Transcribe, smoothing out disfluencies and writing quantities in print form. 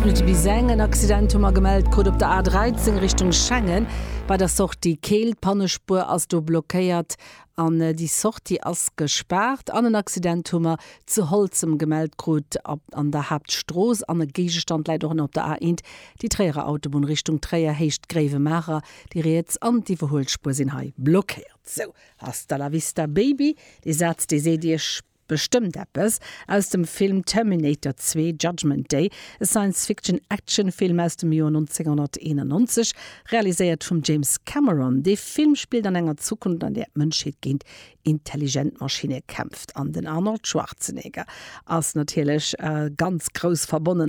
Minutte bis eng. En Accident hu mer gemellt krut op der A13 Richtung Schengen bei der Sortie Keel. D'Pannespuer ass do blockéiert an déi Sortie ass gespaart. An en Accident hu mer zu Holzem gemellt krut an der Haaptstrooss. An e Géigestand läit och nach op der A1, déi Tréierer Autobunn Richtung Tréier, Héicht Gréiwemaacher. Déi riets an d'Iwwerhuelspuer sinn hei blockéiert. Sou, hasta la vista baby, dee Saz dee seet iech bestëmmt eppes, aus dem Film Terminator 2, Judgment Day, e Science-Fiction-Action-Film aus dem Joer 1991, realiséiert vum James Cameron. Dee Film spillt an enger Zukunft, an där d'Mënschheet géint intelligent Maschinne kämpft. An den Arnold Schwarzenegger ass natierlech ganz grouss verbonnen.